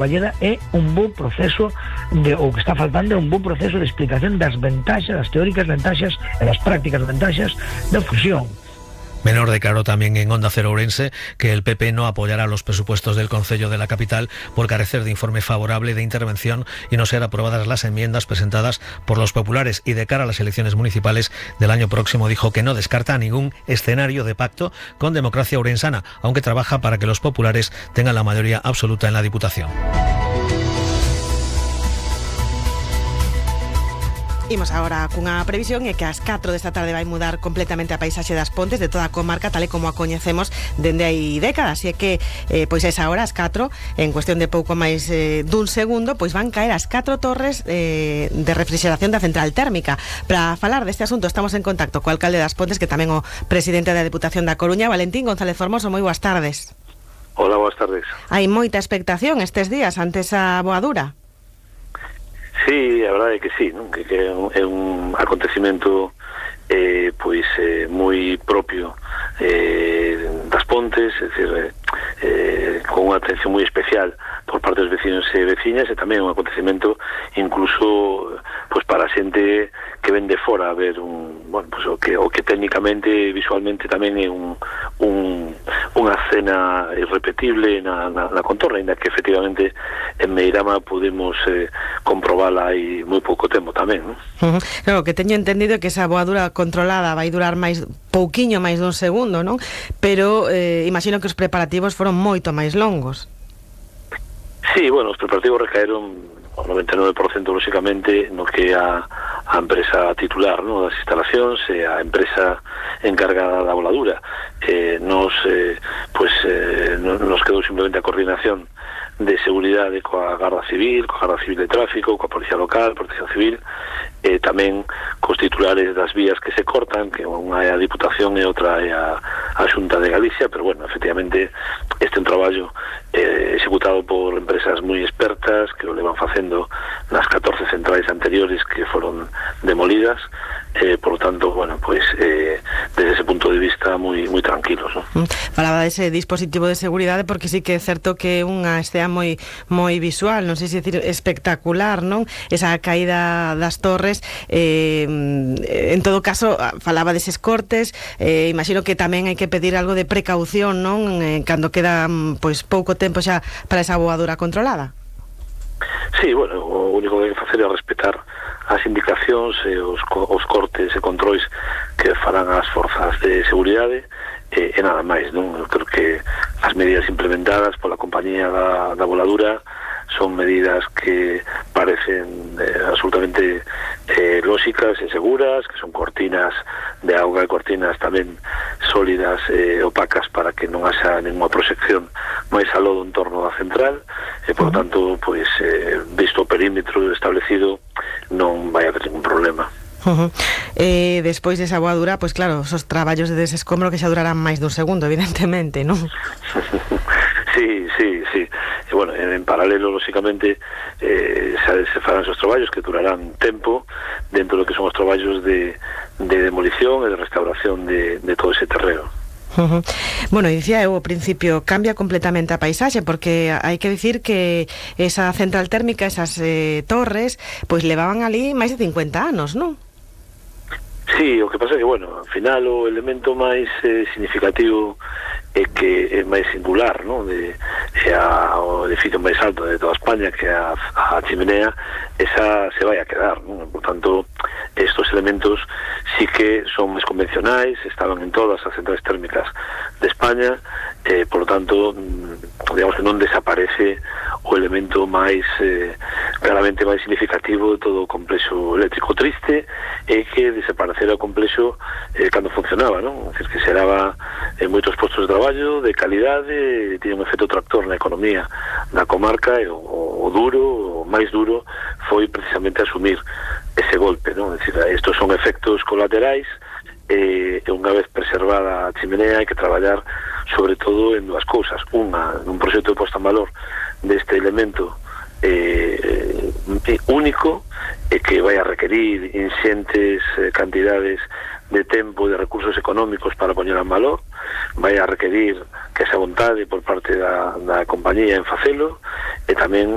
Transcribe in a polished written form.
Balleda é un bo proceso o que está faltando é un bo proceso de explicación das ventaxas, das teóricas ventaxas e das prácticas ventaxas da fusión. Menor declaró también en Onda Cero Ourense que el PP no apoyará los presupuestos del Concello de la capital por carecer de informe favorable de intervención y no ser aprobadas las enmiendas presentadas por los populares, y de cara a las elecciones municipales del año próximo dijo que no descarta ningún escenario de pacto con Democracia Ourensana, aunque trabaja para que los populares tengan la mayoría absoluta en la Diputación. Imos agora cunha previsión é que ás 4 desta tarde vai mudar completamente a paisaxe das Pontes de toda a comarca tal e como a coñecemos dende hai décadas, así é que pois a esa hora, ás 4, en cuestión de pouco máis dun segundo, pois van caer as 4 torres de refrigeración da central térmica. Para falar deste asunto estamos en contacto co alcalde das Pontes, que tamén o presidente da Deputación da Coruña, Valentín González Formoso. Moi boas tardes. Hola, boas tardes. Hai moita expectación estes días ante esa boadura. Sí, a verdade é que sí, non? Que é un acontecimento moi propio das Pontes, é dicir, con unha atención moi especial por parte dos vecinos e veciñas, e tamén un acontecimento incluso para a xente que ven de fora a ver o que técnicamente, visualmente tamén é unha escena irrepetible na contorna, ainda que efectivamente en Meirama podemos comprobala hai moi pouco tempo tamén, non? Claro, que teño entendido que esa boadura controlada vai durar pouquiño máis dun segundo, non? Pero imagino que os preparativos foron moito máis longos. Sí, bueno, os preparativos recaeron ao 99% lóxicamente no que é a empresa titular, no, das instalacións e a empresa encargada da voladura. Nos quedou simplemente a coordinación de seguridade coa Garda Civil, coa Garda Civil de Tráfico, coa Policía Local, Protección Civil, e tamén cos titulares das vías que se cortan, que unha é a Diputación e outra é a Xunta de Galicia, pero bueno, efectivamente este é un traballo executado por empresas moi expertas que o levan facendo nas 14 centrais anteriores que foron demolidas, por lo tanto, bueno, desde ese punto de vista moi tranquilos, ¿no? Falaba dese dispositivo de seguridade porque sí que é certo que é unha escena moi visual, non sei se decir espectacular, non? Esa caída das torres, en todo caso falaba deses cortes, imagino que tamén hai que pedir algo de precaución, non? Cando queda pouco tempo xa para esa boadura controlada. Sí, bueno, o único que hai que facer é respetar as indicacións e os cortes e controis que farán as forzas de seguridade, e nada máis, non? Eu creo que as medidas implementadas pola compañía da voladura son medidas que parecen absolutamente lóxicas e seguras, que son cortinas de auga e cortinas tamén sólidas e opacas para que non haxa ninguna proxección máis aló do entorno da central, e por tanto, visto o perímetro establecido, non vai haber ningún problema. Despois desa boadura, pois claro, os traballos de desescombro que xa durarán máis dun segundo, evidentemente, non? Sí. E, bueno, en paralelo, lóxicamente, se farán esos traballos que durarán tempo dentro do que son os traballos de demolición e de restauración de todo ese terreno. Bueno, dicía eu ao principio, cambia completamente a paisaxe, porque hai que dicir que esa central térmica, esas torres, pois levaban ali máis de 50 anos, non? Sí, o que pasa é que, bueno, ao final o elemento máis significativo é que é máis singular, non? O edificio máis alto de toda España, que é a chimenea, esa se vai a quedar, non? Por tanto, estos elementos sí que son máis convencionais, estaban en todas as centrais térmicas de España, por lo tanto, digamos que non desaparece o elemento máis claramente máis significativo de todo o complexo eléctrico. Triste é que desaparecera o complexo cando funcionaba, non? É dicir, que xeraba moitos postos de traballo de calidade, tiña un efecto tractor na economía da comarca, e o máis duro foi precisamente asumir ese golpe, non? É dicir, estos son efectos colaterais, e unha vez preservada a chimenea hai que traballar sobre todo en dúas cousas. Unha, nun proxecto de posta en valor deste elemento único, e que vai a requerir inxentes cantidades de tempo e de recursos económicos para poñer en valor, vai a requerir que esa vontade por parte da compañía en facelo, e tamén